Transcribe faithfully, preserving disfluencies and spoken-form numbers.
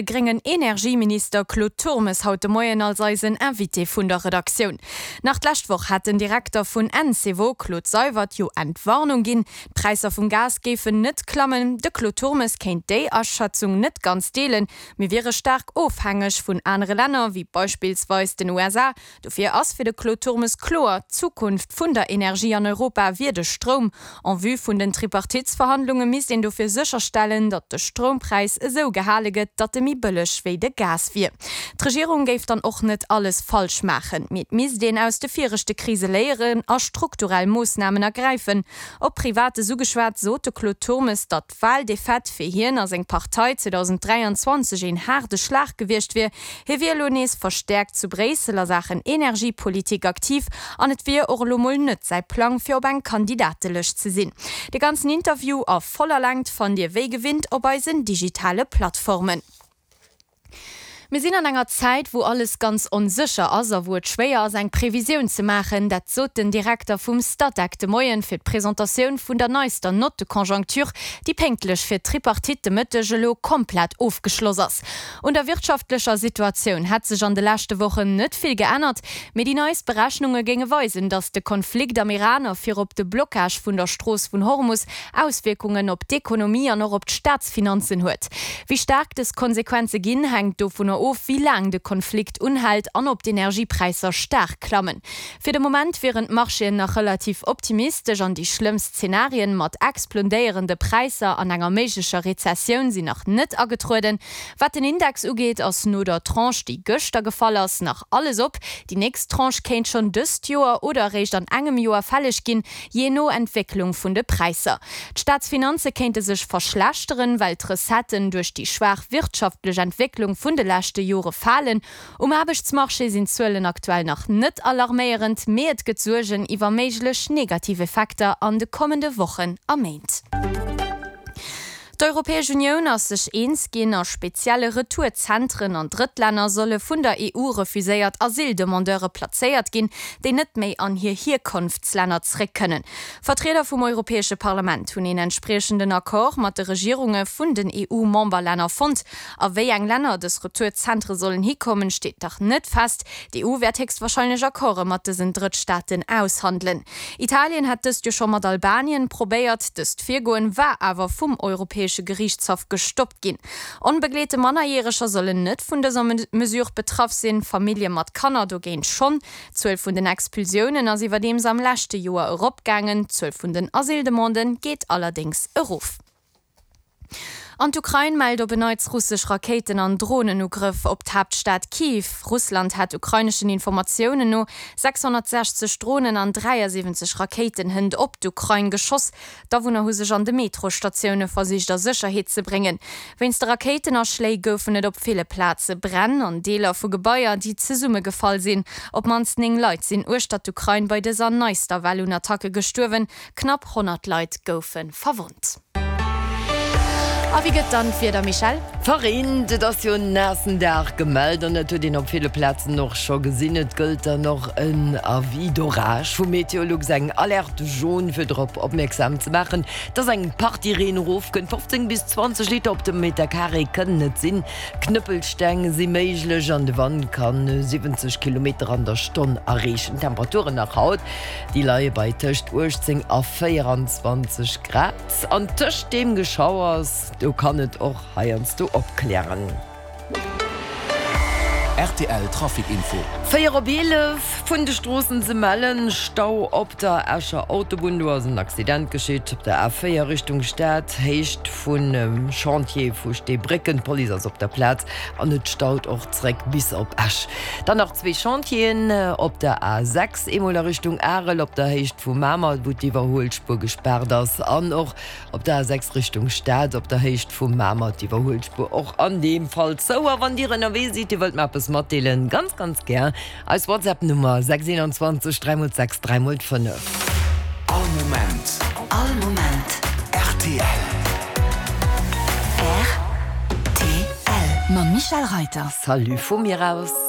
gréngen Energieminister Claude Turmes haut de Moien als eisen Invité vun der Redaktioun. Nach d'lescht Woch hat den Direkter vun Encevo, Claude Seywert, jo Entwarnung ginn, d'Präisser vum Gas géifen net klammen. De Claude Turmes kéint déi Aschätzung net ganz deelen, Mir wiere staark ofhängeg vun anere Länner, wéi beispillsweis den U S A. Dofir ass fir de Claude Turmes kloer, d'Zukunft vun der Energie an Europa wier de Stroum. En vue vun den Tripartitsverhandlunge misst een dofir sécherstellen, datt de Stroumpräis esou gehale gëtt, datt e méi bëlleg wéi de Gas wier. D'Regierung géif dann och net alles falsch maachen, mee et misst een aus de viregte Krise léieren a strukturell Moossnamen ergräifen. Op Privates ugeschwat, sot de Claude Turmes, datt d'Waldefaite fir hien a seng Partei zweedausend dräianzwanzeg een haarde Schlag gewiescht wier. Hie wier elo nees verstäerkt zu Bréissel a Saachen Energiepolitik aktiv an et wier och elo mol net säi Plang, fir op eng Kandidatelëscht ze sinn. De ganzen Interview a voller Längt fannt Dir wéi gewinnt op eisen digitale Plattformen. Mir sinn an enger Zäit, wou alles ganz onsécher ass a wou et schwéier ass, eng Previsioun ze maachen. Dat sot den Direkter vum Statec de Moien fir d'Presentatioun vun der neister Note de conjoncture, déi pénktlech fir d'Tripartite de Mëtteg elo komplett ofgeschloss ass. Un der wirtschaftlecher Situatioun hätt sech an de leschte Wochen net vill geännert, mee déi neist Berechnunge géinge weisen, datt de Konflikt am Iran a virop de Blockage vun der Strooss vun Hormus Auswierkungen op d'Ekonomie an och op d'Staatsfinanzen huet. Wéi staark dës Konsequenze ginn, hänkt dovunner of, wéi laang de Konflikt unhält an ob d'Energiepräisser staark klammen. Fir de Moment wieren d'Marchéen nach relativ optimistesch an déi schlëmmst Zenarien mat explodéierende Präisser an enger méiglecher Rezessioun sinn nach net agetrueden. Wat den Index ugeet, ass no der Tranche, déi gëschter gefall ass, nach alles op. Déi nächst Tranche kéint schonn dëst Joer oder eréischt an engem Joer fälleg ginn, jee no Entwécklung vun de Präisser. D'Staatsfinanze kéinte sech verschlechteren, well d'Recetten duerch déi schwaach wirtschaftlech Entwécklung vun de leschte Jore falen. Um Aarbechtsmarché sinn d'Zuelen aktuell nach net alarméierend, mee et gëtt Suergen iwwer méiglech negativ Effekter an de kommende Wochen a Méint. D'Europäesch Unioun ass sech eens ginn, a spezielle Retourzentren an Drëttlänner solle vun der E U refuséiert Asyldemandeure plazéiert ginn, déi net méi an hir Hierkonftslänner zréck kënnen. Vertrieder vum Europäesche Parlament hunn een entspriechenden Accord mat de Regierunge vun den E U-Memberlänner fonnt. A wéi eng Länner dës Retourzentre sollen hikommen, steet nach net fest. D'E U wäert héchstwarscheinlech Accorde mat dësen Drëttstaaten aushandelen. Italien hat dëst jo scho mat Albanien probéiert. Dëst Virgoen war awer vum Europäesche Geriichtshaff gestoppt ginn. Onbegleete Mannerjäreger sollen net vun dëser Mesure betraff sinn, Famillje mat Kanner dogéint schonn. D'Zuel vun den Expulsiounen ass iwwerdeems am leschte Joer eropgaangen, d'Zuel vun den Asyldemanden geet allerdéngs erof. An d'Ukrain mellt op en Neits russesch Rakéiten an Dronenugrëff op d'Haaptstad Kiew. Russland hätt ukraineschen Informatiounen no sechshonnertsechzeg Dronen an dräiasiwwenzeg Rakéiten hënt op d'Ukrain geschoss. D'Awunner hu sech an de Metrostatioune versicht a Sécherheet ze bréngen. Wéinst de Rakéitenaschléi goufen et op ville Plaze Bränn an Deeler vu Gebaier, déi zesummegefall sinn. Op d'mannst néng Leit sinn uechter d'Ukrain bei dëser neister Well un Attacke gestuerwen, knapp honnert Leit goufe verwonnt. A wéi gëtt dann d'Wieder, Michèle? Verreent, et ass jo en naassen Dag gemellt an dat huet een op ville Plazen och scho gesinn. Et gëllt dann och en Avis d'orage vu Meteolux, eng Alerte jaune, fir drop opmierksam ze maachen, dass eng Partie Reen erofkënnt. fofzéng bis zwanzeg Liter op de Meter Carré kënnen et sinn. Knëppelsteng si méiglech an de Wand ka siwwenzeg Kilometer an der Stonn erreechen. D'Temperaturen nach haut, déi leie bei tëscht uechtzéng a véieranzwanzeg Grad. An tëscht deem Geschauers, do kann et och heiansdo opklären. R T L Trafic Info. Véier op eelef vun de Stroossen ze mellen, Stau op der Escher Autobunn, do ass en Accident geschitt op der A véier Richtung Stad, Héicht vun Chantier vu Steebrécken. D'Police ass op der Plaz an et staut och zréck bis op Esch. Dann nach zwee Chantieren op der A sechs, eemol a Richtung Arel op der Héicht vu Mamer, wou d'Iwwerhuelspuer gespaart ass an och op der A sechs Richtung Stad op der Héicht vu Mamer, d'Iwwerhuelspuer och an deem Fall zou. A wann Dir ënnerwee sidd, Dir wëllt mer eppes matdeelen, ganz, ganz gär eis WhatsApp-Nummer sechs einundzwanzeg dräi mol sechs dräi mol fënnef. All Moment. All Moment. R T L. R T L. Mam Michèle Reyter. Salut vu mir aus.